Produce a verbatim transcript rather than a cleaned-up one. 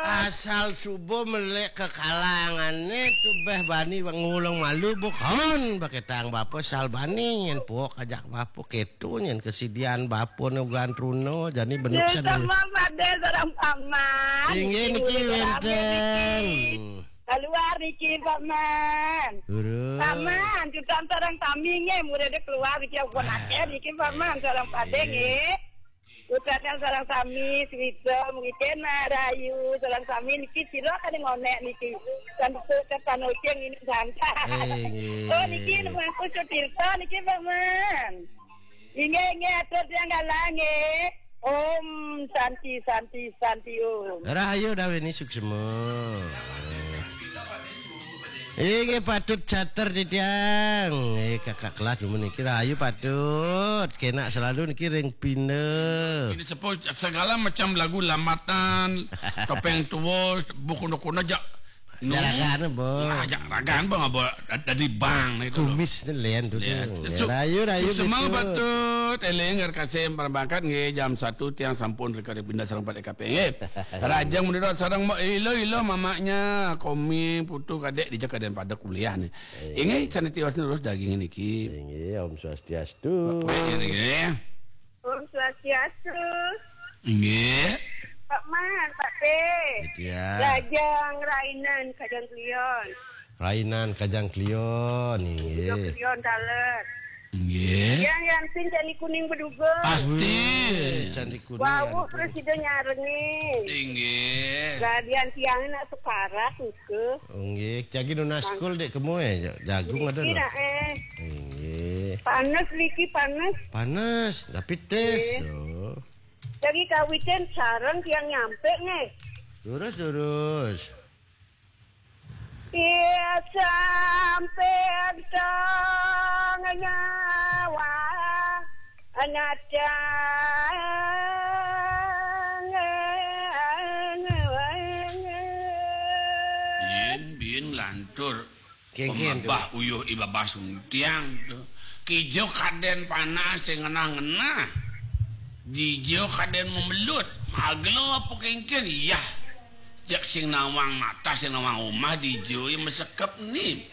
Asal suba melek ka kalangané tu béh bani ngulung malu bukan baketang bapa sal bani nyén puak ajak bapa kéto nyén kasidian bapa né ugan truna jani benuk. Ya, sendiri. Sama pada sareng paman. Inggih niki wénten. Keluar niki, Pak Man. Durus. Paman, kita sareng sami nggih, murid keluar niki, pun akéh niki, Paman, sareng padé nggih. Ucapkan sareng sami, suwita, mungkin rahayu, sareng sami niki sira kadé ngonék niki. Kan betul kan Panocing ini santai. Inggih. Oh, niki mangku Sutirta niki, Paman. Inggih, inggih, atur tiang galang nggih. Om Santi, Santi, Santi Om. Rahayu dawini suksma. Inggih patut cater titiang. Eh, kakak kelas dumun niki rahayu patut. Kénak selalu niki ring pinda. Ini sepo segala macam lagu lambatan, topeng tua, buku kuna-kuna jak. Jaragan, Bo. Nah, jak ragan, Bo, ngaba dadi bang itu. Kumis ni lain tu. Lain. Rahayu, rahayu. Semang patut éling ngar kasih perbankan nggih jam satu tiang sampun reka pindah sareng pada kape nggih. Rajang menurut sareng mak ilo-ilo mamaknya, komi, putu, kadék, dija kadén pada kuliah ni. Inggih, sanitiwas terus daging niki. Inggih, Om Swastiastu. Baik, ini nggih. Om Swastiastu. Inggih. Pak Man, Pak Té. Itu ya. Rajang Rainan Kajang Klion. Rainan Kajang Klion, inggih. Kajang Klion taler. Inggih. Yang Yansin candi kuning beduga. Pasti. Wih, candi kuning. Wau presiden nyarengin. Inggih. Gadian tiang nak sekarat ke. Nggih, jagi nunas kul dék kemu eh, jagung ada niki no. Nak eh. Nggih. Panas niki panas. Panas, tapi tes. Nggih. Oh. Jagi kawitin sareng tiang nyampe nggih. Lurus, lurus. Iya sampai tong nyawa natang. Bin, bin lantur. Kéngkén tu. Pemabah uyuh i babas tiang tu. Kija kadén panas sing ngenah-ngenah. Dija kadén memelut. Magla apa kéngkén? Yah. Jak sing nawang mata, sing nawang umah dija ya mesekep ni.